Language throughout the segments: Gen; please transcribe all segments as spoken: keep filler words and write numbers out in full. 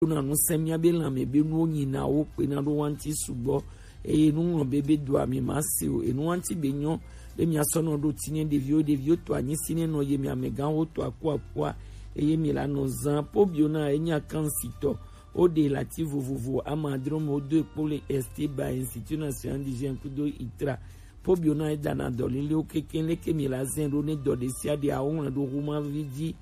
na nu sɛ mía be lãme be nuwo nyina wo kpe na ɖo wa ŋuti sugbɔ. Eye nu ŋlɔ be be do ami ma se o. Enu wa ŋuti be nyɔ be mía sɔ nɔ ɖo ti ne ɖeviwo, ɖeviwo to anyi si ne nɔ ye mi amegãwo to aku akua. Eye mi la nɔ zã po bio na enya kan sitɔ. Wo ɖe lati vovovo ama adre me wo do ekpo le Esteba Institut National d'Hygiène kudo itra. Po bio na edana dɔ lelewo keke leke mi la zɛ ɖo ne dɔ ɖe sia ɖe awo ŋlɔ ɖo huma vi dzi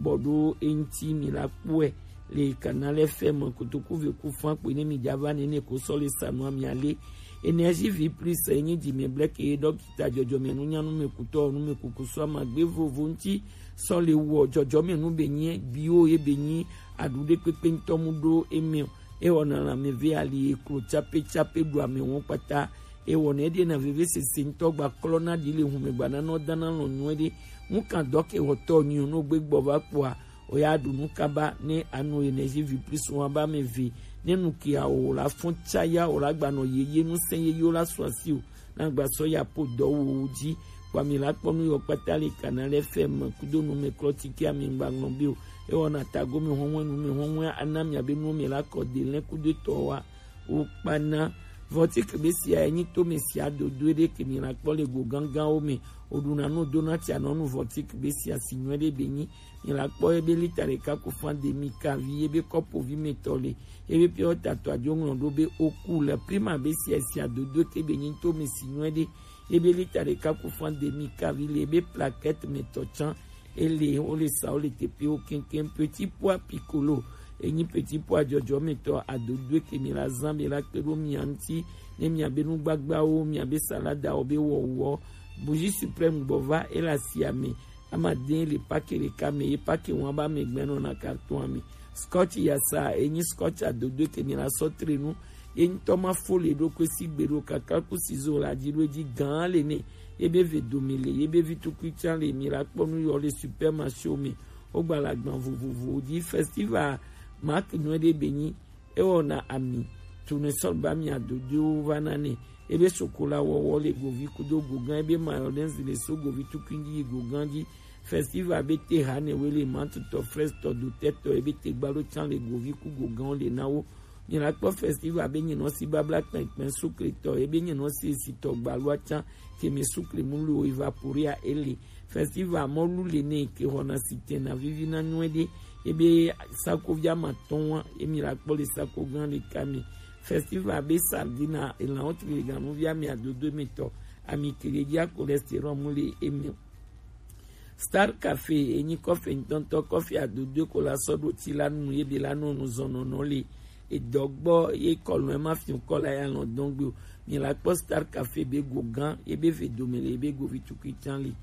bɔ ɖo eŋti mi la kpɔe le Canal F M kotoku ve ku fan kpe ne mi dza va nene ko sɔ le sanu ami ale. Énergie vie plus enyi dzi mi blɛ ke dɔkita dzɔdzɔme nunyanu me kutɔ nu me kuku sɔ ama gbe vovo ŋti sɔ le wɔ dzɔdzɔme nu be nyi biwo ye be nyi aɖu ɖe kpekpe ŋtɔ mu ɖo eme o. Ewɔna lãme ve ali eklo tsape tsape ɖu ame wɔn kpata. Ewɔna eɖe na vevesese ŋtɔ gba klɔ na ɖi le hume gba na nɔ dana lɔ nyuie ɖe. Ŋu kan dɔ ke wɔtɔ nyi o no gbe gbɔ va kpɔa o ya ɖu nu kaba ne anu Énergie vie plus wɔn aba me ve ne nu ke awo la fɔn tsa ya o la gba nɔ yeye nu sɛ yeye o la sɔ asi o na gba sɔ ya po dɔ wo wo dzi. Kpɔ ami la kpɔ nu yɔ kpata le Canal F M kudo nu me klɔ ti ke ami gba ŋlɔ be o. Ewɔna tago mi hɔnwe nu me hɔnwe ana mi abe nu me la kɔ de lɛ kudo tɔ wa. Wo kpana. Vɔtik be sia enyi to me sia dodo ɖe ke mi la kpɔ le go gangan wo me. O ɖu na nu do na tia nɔ nu vɔtik be sia si nyuie ɖe be nyi. Mi la kpɔ ebe lita ɖeka ku fan demi kavi ebe kɔpo vi me tɔ le. Ebe pure water tɔ adzo ŋlɔ ɖo be oku le prima be sia sia dodo ke be nyi to me si nyuie ɖe. Ebe lita ɖeka ku fan demi kavi le ebe plaquette me tɔ tsan. Ele wo le sa wo le teƒewo keŋkeŋ. Petit pois piccolo enyi petit pois dzɔdzɔmetɔ adodoe ke mi la zã be la kpe ɖo mia ŋuti ne mia be nu gbagbawo, mia be saladawo be wɔwɔ. Bougie suprême gbɔ va ele asia me. Ama de le pake ɖeka me ye pake wɔn aba me gbɛ nɔ na carton me. Scotch yasa enyi scotch adodoe ke mi la sɔ tre nu. Ye ŋutɔ ma fo le ɖokui si gbe ɖo kaka ku sizo la dzi ɖo edzi gã le ne. Ye be ve dome le ye be vi tukui tsã le mi la kpɔ nu yɔ le supermarché me. Wo gba le agban vovovowo dzi. Festival mark nyuie ɖe be nyi ewɔna ami. Tournesol ba mi adodoewo va na ne. Ebe sokola wɔwɔ le govi kudo gogã ebe mayonnaise le so govi tukui dzi yi gogã dzi. Festival be te ha ne we le mantutɔ frestɔ dotɛtɔ ebe te gbalo tsã le govi ku gogãwo le na wo. Mi la kpɔ festival be nyinɔ si babla kpɛnkpɛn sukletɔ ebe nyinɔ si esitɔ gbalua tsã keme sukle mu lo evaporea ele. Festival mɔlu le ne ke xɔna si tena vivi na nyuie ɖe ebe sakovi ama tɔn wa emi la kpɔ le sako gã le kame. Festival be sardina elan wo tuli ganuvi ami adodo emetɔ ami kele dzi a cholestérol mu le eme. Star Cafe enyi kɔfe ŋutɔŋutɔ kɔfe adodoe ko la sɔ ɖo ti la nu ye be la nɔ nu zɔnɔnɔ le edɔ gbɔ ye kɔlɔn ema fi kɔ la ya lɔn dɔn gbe o. Mi la kpɔ Star Cafe be go gã ye be ve dome le ye be govi tukui tsã le.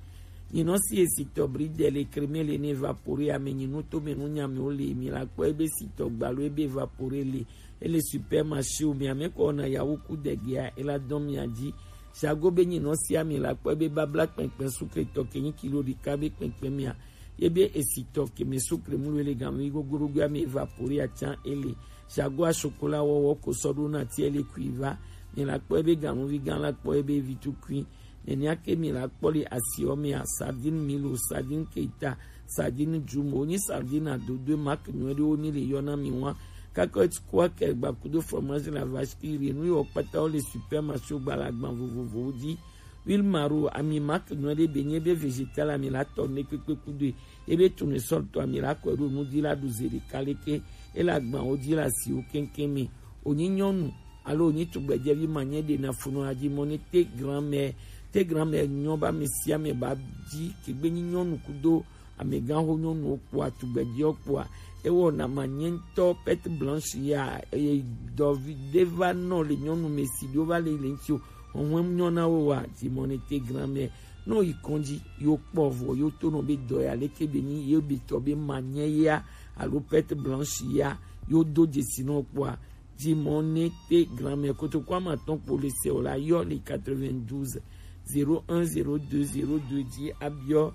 Nyinɔ si esitɔ bridel le creme le ne evapore ame nyinu to me nu nyame wo le mi la kpɔ ebe sitɔ gbalo ebe evapore le ele supermarché o mi ame kɔ na yawo ku degea ela dɔn mia dzi. Jago be nyinɔ si ami la kpɔ ebe babla kpɛnkpɛn sukle tɔ ke nyi kilo ɖeka be kpɛnkpɛn mia. Ye be esitɔ ke me sukle mu le gan mi gogoro gbe ami evapore atsan ele. Jago asokola wɔwɔ ko sɔ ɖo na ti ele kui va. Mi la kpɔ ebe ganuvi gan la kpɔ ebe vi tukui. Nenea ke mi la kpɔ le asiɔ mea, sardine milo, sardine keita, sardine jumo, wonyi sardine adodoe marque nyuie ɖewo mi le yɔna mi wa. Cacahuète, croquettes, gbakudo fromage la vache qui rit, nu yiwo kpata wo le supermarché gba le agban vovovowo dzi. Huile maro, ami marque nyuie ɖe be nye be végétal ami la tɔ ne kpekpe kudoe. Ebe tournesol tɔ ami la kɔe ɖo nu dzi la ɖu ze ɖeka leke. Ele agbanwo dzi le asiwo keŋkeŋ me. Wonyi nyɔnu alo wonyi tugbedzɛvi ma nye ɖe na funɔ adzi mɔ ne te grand-mère, te grand-mère nyɔ ba ame sia ame ba dzi kegbe nyi nyɔnu kudo amegãxo nyɔnuwo kpɔa tugbedzɛwo kpɔa ewɔna ma nye ŋutɔ perte blanche ya eye dɔvi ɖe va nɔ le nyɔnu me si ɖewo va le le ŋuti o. Hɔnhɔn nyɔ na wo wa dzi mɔ ne te grand-mère nɔ yi kɔndzi yo kpɔ vɔ yo to nɔ be dɔ ya leke be nyi yo be tɔ be ma nye ya alo perte blanche ya yo do dzesi nɔ kpɔa. Dzi mɔ ne te grand-mère kotoku ama tɔn kpo le se o la yɔ le quatre-vingt-douze zéro un zéro deux zéro deux dzi abiɔ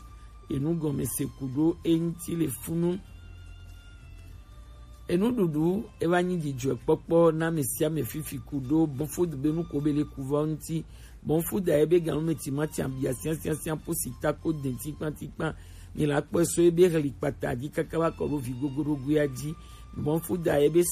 enu gɔme se ku ɖo eŋuti le funu. Enuɖuɖu eva nyi dzidzɔkpɔkpɔ na ame sia ame fifi ku ɖo bɔnfodu be nu ko be le ku va ŋuti. Bɔnfodu a ebe ganume timati abia siasiasia po si ta ko de tikpatikpa. Mi la kpɔe so ebe heli kpata dzi kaka va kɔ ɖo vi gogoɖogoea dzi. Bon, fu da ye be